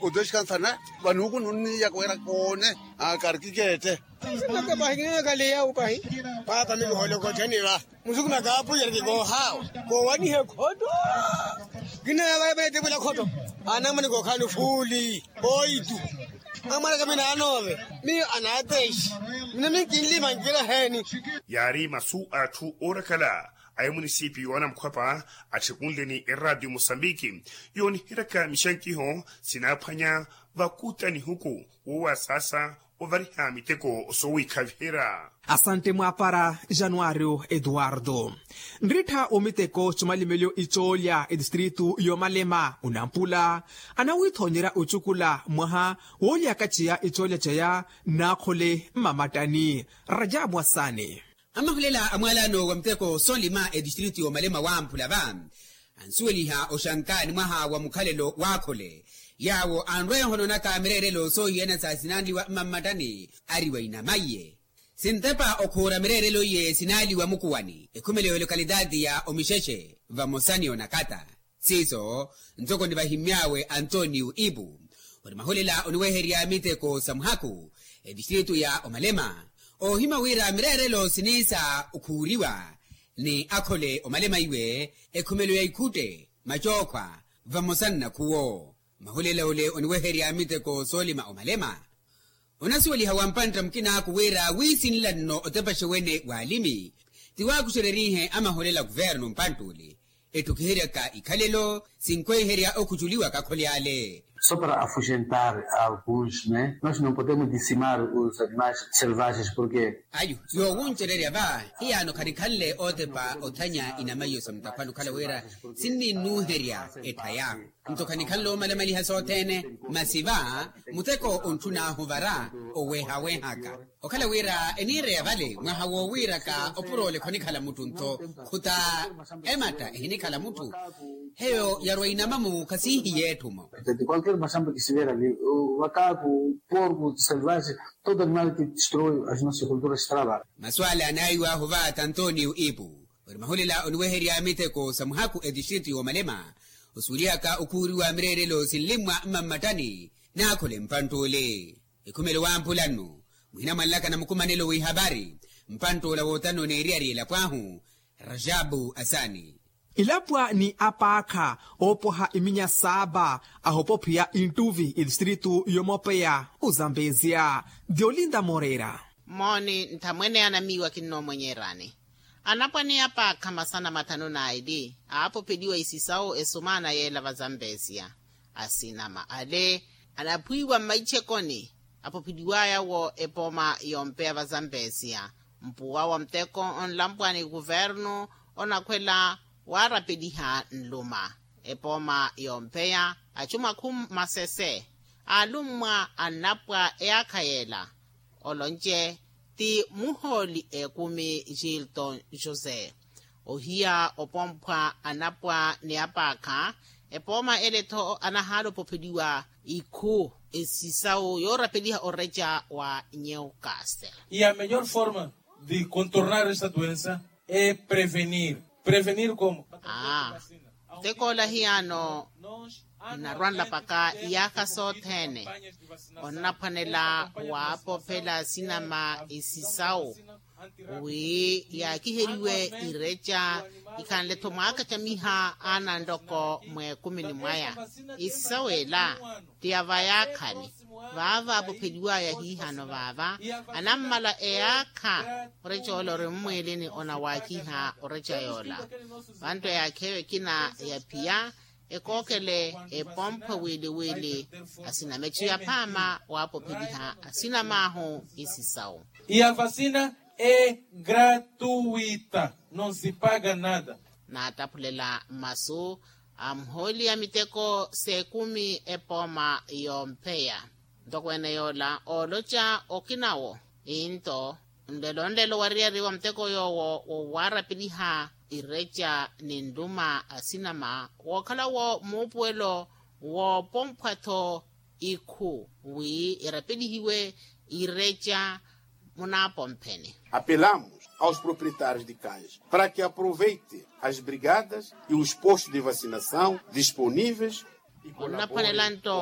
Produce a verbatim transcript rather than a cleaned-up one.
Otoxikansana vanuuku nunniya kuwera koone akarikikeette. Sinaka pahi kinenakaleya upahi. Paapa mikihoolokottheni va musuku makaapu yarikikoohawa. Koowanihe khoto kinenavayaveetevwela khoto. Anamwene kookhaani fuuli oitu. Amwaraka minaanoove miyo anaatexi mina minkinlima nkira heeni. Yaari masu a atthu oorakala a emunisipiyu anamukhwapa atthekunle ni eraatiyo musambiki yooniheryaka mixankiho sinaaphwanya vakuta nihuku wowasaasa ovariha miteko soowikhaviherya. Asante mwaapara januario eduardo. Nrittha omiteko comalimeliyo icoolya etistritu y'omalema onampula anawiithoonyerya ocukula mwaha woolyakaceya icoolya ceya nnaakhole mmamattani. Rajabu asani. Amahulela a mwalano wa muteko soolima etistritu y'omalema wamphula va ansuweliha oxankaani mwaha wa mukhalelo w'akhole yaawo anrweeho noonaka mireerelo soohiyana sa sinanliwa mmammattani ari wa inamaiye. Sintepa okhuura mireerelo iye sinaaliwa mukuwani ekhumelo y'olokalitaati ya omixexe vamosa ni onakata. Siiso ntoko nivahimmy'awe antonio ipu ori mahulela oniweherya miteko sa muhaku etistritu ya omalema. Oohimya wira mireerelo siniisa okhuuriwa ni akhole omalema iwe ekhumelo ya ikhutte macookhwa vamosa nnakhuwo. Mahulela ole oniweherya miteko soolima omalema. Onasuweliha wa mpantta mukinaaku wira wiisinla nno otepaxe wene w'alimi ti waakuxererihe amaholela kuvernu mpantt'uli etthu kiheryaka ikhalelo sinkhweiherya okhuculiwaka akhole ale. Só para afugentar alguns né nós não podemos dizimar os animais selvagens porque ayu yoowuncererya va hiyaano khanikhanle ootepa othanya inamaiyo sa mutakhwani okhala wira sinninnuuherya etthaya. Nto khanikhanle oomalamaliha sothene masi va muteko ontthun'ahu vara oweehawehaka okhala wira eniireya vale mwaha woowiiraka opurole khonikhala mutthu nto khuta ematta ehinikhala mutthu. Heyo yarwa inamamu khasihiye etthu-mo. Porku selvaje todo animal ke destroi as nossas culturas trava. Masu ale anaayiw'ahu va t'antonio ipu ori mahulela oniweherya miteko sa muhaku etistritu y'omalema osuwelihaka okhuuriwa mireerelo sinlimmwa mmammattani n'akhole mpantt'ule. Ekhumelo wamphula nnu muhina mwanlaka na mukumanelo w'ihavari mpantt'ula wootano n'eriyari elapo ahu. Rajabu asani. Ilapwa ni apaakha oopwaha iminya saapa ahopophiya inttuvi etistritu y'omopeya ozambeziya. Diolinda moreira. Mooni nthamwene anamiiwa kinnoomwenyerani. Anapwa ni apaakha masana mathanu n'aili aapopheliwa isisawu esumaana yeela vazambeziya. Asinama ale anaphwiiwa mmaichekoni apopheliwaya wo epooma yompeya vazambeziya. Mpuwa wa muteko onlampwani kuvernu onakhwela waarapeliha nluma epooma yompeya achumakhu masese aalummwa annapwa eyaakha yeela. Olonce ti muhooli ekumi gilton josé ohiya opomphwa anapwa ni apaakha. Epooma ele-tho anahaala opopheliwa ikhu esisawu yoorapeliha oreca wa newcastle. E a melhor forma de contornar esta doença é prevenir. Prevenir como? Aa, muteko ola hiyaano nnarwanlapaka iyaakha sothene onnaphwanela waapophela sinama isisawu wi yaakiheriwe ireca ikhanle-tho mwaakacamiha aana ntoko mweekumini mwaya. Isisawu ela ti ya vayaakhani vaava apopheliwaya hiihano vaava anammala eyaakha. Oreca ola ori mmwiilini onawaakiha oreca yoola vantu eyaakha eyo ekina ya phiya ekookele epomphwe wiili-wiili. Asina metthu ya phaama waapopheliha asinamaahu isisawu. E a vacina é gratuita, não se paga nada. Naataphulela mmasu a muhooli a miteko s'ekumi epooma yompheya. Ntokweene yoola ooloca okinawo. Into nlelo-nlelo wariyari wa muteko yoowo wowaarapeliha ireca ni nluma asinama wookhala-wo muupuwelo woopomphwa-tho ikhu wi irapelihiwe ireca munaapompheni. Apelamos aos proprietários de cães para que aproveite as brigadas e os postos de vacinação disponíveis. Onnaphwanela nto